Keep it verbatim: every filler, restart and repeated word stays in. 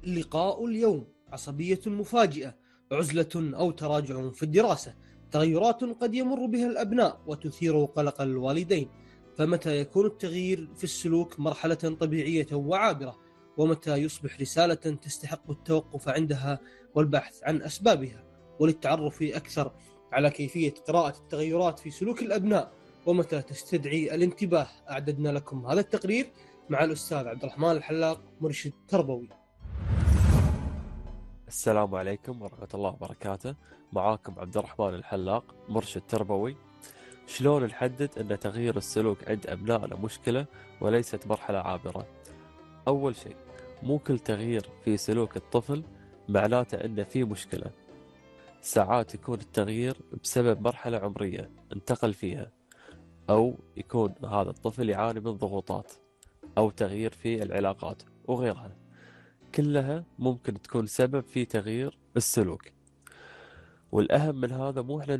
لقاء اليوم، عصبية مفاجئة، عزلة أو تراجع في الدراسة. تغيرات قد يمر بها الأبناء وتثير قلق الوالدين. فمتى يكون التغيير في السلوك مرحلة طبيعية وعابرة؟ ومتى يصبح رسالة تستحق التوقف عندها والبحث عن أسبابها؟ وللتعرف أكثر على كيفية قراءة التغيرات في سلوك الأبناء ومتى تستدعي الانتباه، أعددنا لكم هذا التقرير مع الأستاذ عبد الرحمن الحلاق، مرشد تربوي. السلام عليكم ورحمة الله وبركاته. معاكم عبد الرحمن الحلاق، مرشد تربوي. شلون نحدد أن تغيير السلوك عند أبنائنا مشكلة وليست مرحلة عابرة؟ أول شيء، مو كل تغيير في سلوك الطفل معناته أنه في مشكلة. ساعات يكون التغيير بسبب مرحلة عمرية انتقل فيها، أو يكون هذا الطفل يعاني من ضغوطات، أو تغيير في العلاقات وغيرها، كلها ممكن تكون سبب في تغيير السلوك. والأهم من هذا، مو احنا